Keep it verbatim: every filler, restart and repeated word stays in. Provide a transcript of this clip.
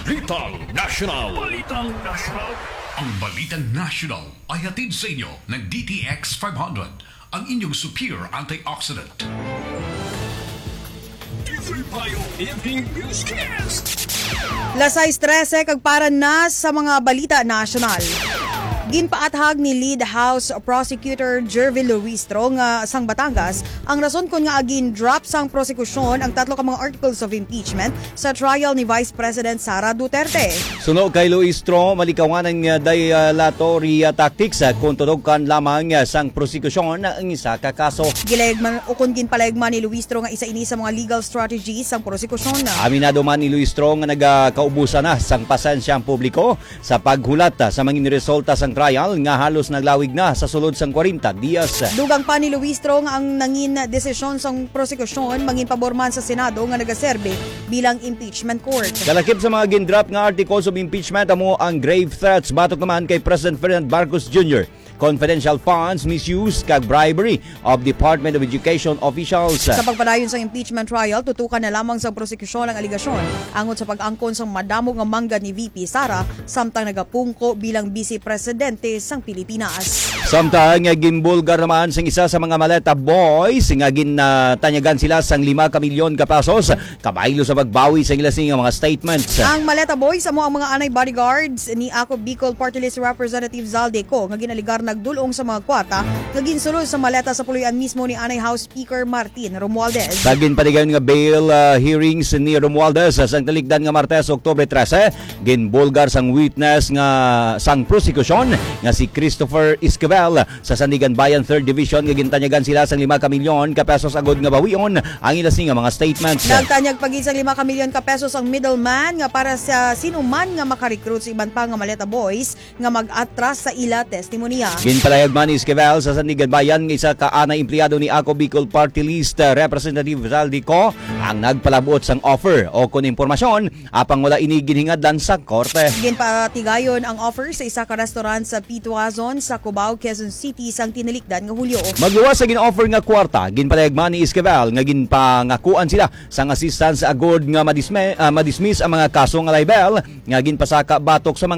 Balitang National. Balitang National. Ang Balitang National ay hatid sa inyo ng D T X five hundred, ang inyong superior antioxidant. Different Bio Evening Newscast. Las sais trese kag para na sa mga balita nasyonal. Ginpaathag ni Lead House Prosecutor Jervil Luistro nga sang Batangas ang rason kon ngaa gin-drop sang prosekusyon ang tatlo ka mga articles of impeachment sa trial ni Vice President Sara Duterte. Suno kay Luistro, malikawan ang, uh, dilatory, uh, tactics, uh, kung tutukan lamang, uh, sang prosekusyon ang isa ka kaso. Gilayagman, o kung ginpalayagman ni Luistro nga isa ini sa mga legal strategies sang prosekusyon. Aminado man ni Luistro nga nagakaubusan na sang pasensya ang publiko sa paghulat, ah, sa mangin resulta sang trial nga halos naglawig na sa sulod sang kwarenta dias. Dugang pa ni Luistro nga ang nangin desisyon sang prosekusyon mangin pabor man sa Senado nga nagaserbi bilang impeachment court. Kalakip sa mga gin-drop nga articles of impeachment amo ang grave threats batok naman kay President Ferdinand Marcos Junior, confidential funds misuse kag bribery of Department of Education officials. Sa pagpadayon sang impeachment trial, tutukan na lamang sang prosekusyon ang alegasyon angot sa pag-angkon sang madamo nga manggad ni V P Sara samtang nagapungko bilang Vice Presidente sang Pilipinas. Samtang, eh, ginbulgar naman sang isa sa mga maleta boys nga ginatanyagan sila sang lima ka milyon ka pesos kabaylo sa pagbawi sa ila sini nga mga statements. Ang maleta boys amo ang mga anay bodyguards ni Ako Bicol Party List Representative Zaldy Co nga ginaligar nagdul-ong sa mga kwarta nga ginsulod sa maleta sa puloy-an mismo ni anay House Speaker Martin Romualdez. Sa ginpatigayon nga bail, ah, hearings ni Romualdez sa sang talikdan nga Martes, Oktubre trese, ginbulgar sang witness nga sang prosekusyon nga si Christopher Esquivel sa Sandiganbayan Third Division nga gintanyagan sila sang lima ka milyon ka pesos agod nga bawion ang ila sini nga mga statements. Nagtanyag pa gid sang lima ka milyon ka pesos ang middleman nga para sa sino man nga makarecruit sa iban pa nga maleta boys nga mag-atras sa ila testimonya. Ginpalahayag man ni Esquivel sa Sandiganbayan nga isa ka anay empleyado ni Ako Bicol Party List, uh, Representative Zaldy Co ang nagpalabot sang offer o kon impormasyon, apang wala ini ginhingadlan sa korte. Ginpatigayon ang offer sa isa ka restaurant sa Pituazon sa Cubao, Quezon City sang tinalikdan nga Hulyo. Magluwas sa gin-offer nga kwarta, ginpalahayag man ni Esquivel nga ginpangakuan sila sang assistance agod nga madisme-, ah, madismiss ang mga kaso nga libel nga ginpasaka batok sa mga